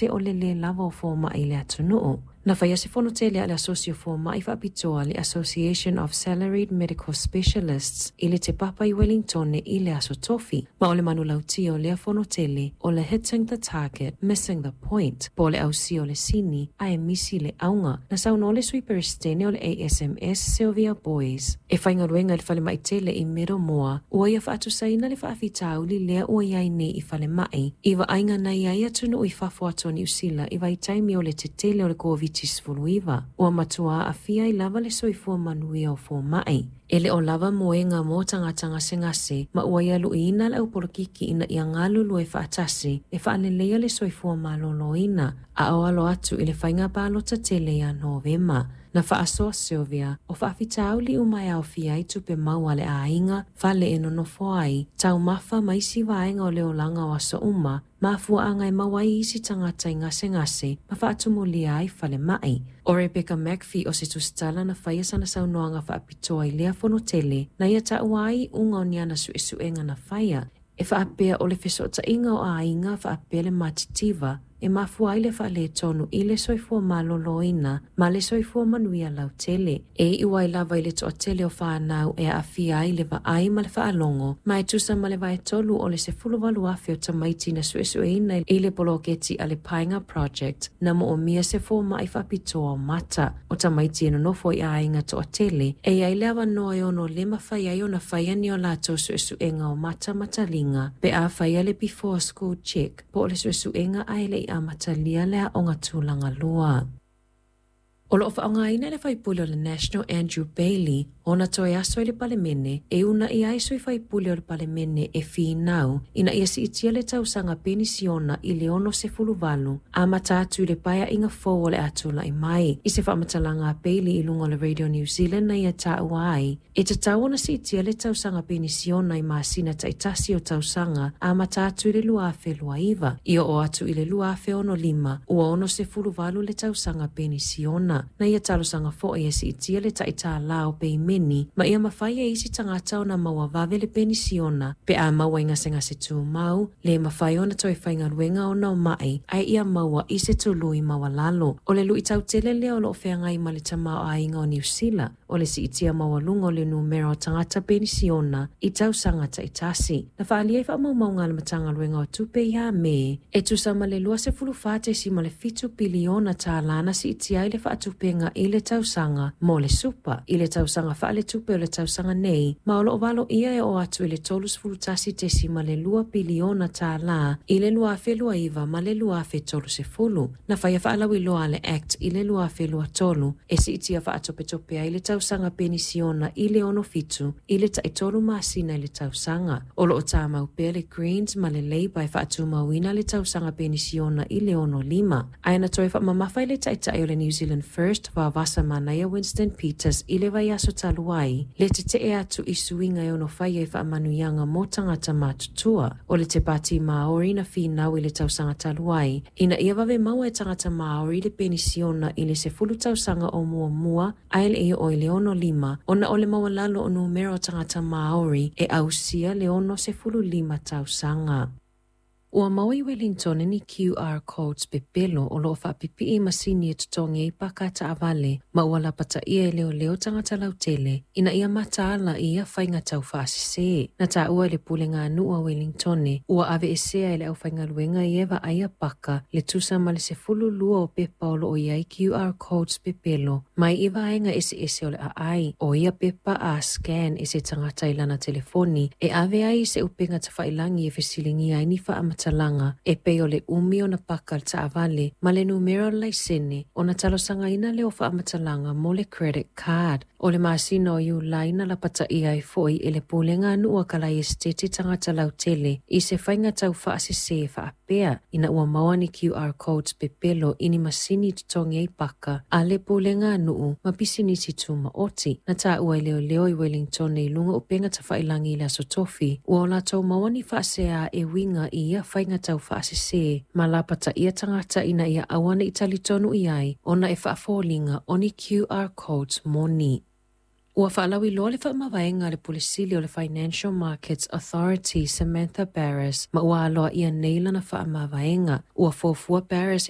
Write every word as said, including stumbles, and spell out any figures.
O le lē lava o fomaʻi i le atunuu. Na faia se fono tele a le Asosi o Fomaʻi Faapitoa, le Association of Salaried Medical Specialists, i le Te Papa i Wellingtone i le Aso Tofi. Ma o le manulauti o lea fono tele o le "Hitting the target, missing the point", po o le ausia o le sini ae misi le auga. Na saunoa le sui peresetene o le A S M S, Sylvia Boys, e faigaluega i le falemaʻi tele i Middlemore, ua ia faatusaina le faafitauli lea ua iai nei i falemaʻi i vaaiga na iai atunuu i fafo atu o Niusila i vaitaimi o le tetele o le Koviti sefulu iva, ua matua aafia ai lava le soifua manuia o fomaʻi. E le o lava moega mo tagata gasegase, ma ua ia luiina le aupolokiki ina ia galulue faatasi e faaleleia le soifua maloloina a o alo atu i le faiga palota tele ia Novema. Na faasoa Sylvia o faafitauli uma e aofia ai tupe maua a le aiga, fale e nonofo ai, taumafa ma isi vaega o le olaga o aso uma, mafuaaga e maua ai isi tagata i gasegase ma faatumulia ai falemaʻi. O Rebecca McPhee o se tusitala na faia sana saunoaga faapitoa i lea fono tele, na ia taua ai iuga o ni ana suesuega na faia e faapea o le fesootaiga o aiga faapea le matitiva e mafua ai le faaletonu i le soifua maloloina ma le soifua manuia lautele. E iu ai lava i le toatele o fanau e aafia ai le vaai ma le faalogo, ma e tusa ma le vaetolu o le sefulu valu afe o tamaiti na suesueina i le poloketi a le Paenga Project na moomia se fomaʻi faapitoa o mata. O tamaiti e nonofo i aiga toatele e iai le avanoa e ono le mafai ai ona faia ni o latou suesuega o mata ma taliga pe a faia le before school check, po o le suesuega ae le i amatalia le aoga tulaga lua. O loo faaaogaina le faipule o le National Andrew Bailey ona toe aso i le Palemene e uunai ai sui faipule o le Palemene e finau ina ia siitia le tausaga penisiona i le ono sefulu valu amata atu i le paeaiga fou o le a tula'i mai. I se faamatalaga a Bailey i luga o le Radio New Zealand, na ia taua ai e tatau ona siitia le tausaga penisiona i masina taitasi o tausaga amata atu i le lua afe lua iva i oo atu i le lua afe ono lima, ua ono sefulu valu le tausaga penisiona. Na ia talosaga foi e siitia le taʻitālā o peimeni ma ia mafai e isi tagata ona maua vave le penisiona pe a maua i gasegase tumau le mafai ona toe faigaluega ona o maʻi, ae ia maua i se tului maualalo. O le luʻitau tele lea o loo feagai ma le tamaoaiga o Niusila, o le siitia maualuga o le numera o tagata penisiona i tausaga taitasi. Na faaalia i faamaumauga a le Matagaluega o Tupe ia Me, e tusa ma le luasefulu fa tesima le fitu piliona tālā na siitia ai le faatupega i le tausaga mo le super i le tausaga faaletupe o le tausaga nei, ma o loo valoia e oo atu i le tolusifi tasi tesima le lua piliona tālā i le lua afe lua iva ma le lua afe tolusefulu. Na faia faalauiloa a le Act i le lua afe lua tolu e siitia faatopetope ai le tausaga penisiona i le ono fitu i le taitolu masina i le tausaga. O loo tamau pea le Greens ma le Labour e faatumauina le tausaga penisiona i le ono lima. Ae na toe faamamafa i le taitai o le New Zealand First, Vaovaasa Manaia Winston Peters, i le vaiaso talu ai le tetee atu i suiga e ono faia i faamanuiaga mo tagata matutua. O le te Pati Maori na finau i le tausaga talu ai ina ia vave maua e tagata Maori le penisiona i le sefulu tausaga o muamua ae le i oo i le ono lima, ona o le maualalo o numera o tagata Maori e ausia le ono sefulu lima tausaga. Ua maua i Wellington ni Q R codes pepelo o loo faapipii masini e totogi ai paka taavale, ma ua lapataia e leoleo tagata lautele ina ia mataala i ia faiga tau faasese. Na taua i le pulega a nuu a Wellington ua aveesea e le aufaigaluega ia e vaaia paka le tusa ma le sefulu lua o pepa o loo iai Q R codes pepelo mai i vaega eseese o le aai. O ia pepa, a scan e se tagata i lana telefoni, e ave ai i se upega tafailagi e fesiligia ai ni faamatalaga e pei o le umi ona paka le taavale ma le numera o le laisene, ona talosagaina lea o faamatalaga mo le credit card. O le masina o Iulai na lapataia ai foi e le pulega a nuu a Kalai Esiteti tagata lautele i se faiga tau faasese faapea ina ua maua ni Q R codes pepelo i ni masini totogi ai paka a le pulega a nuu ma pisinisi tumaoti. Na taua e leoleo i Wellington i luga upega tafailagi i le Aso Tofi ua o latou maua ni faasea e uiga i ia faiga tau faasese, ma lapataia tagata ina ia aua nei talitonu i ai ona e faafoliga o ni Q R codes moni. Ua faalauiloa le faamavaega a le Pule Sili o le Financial Markets Authority, Samantha Barris, ma ua aloaia nei lana faamavaega. Ua fuafua Barris e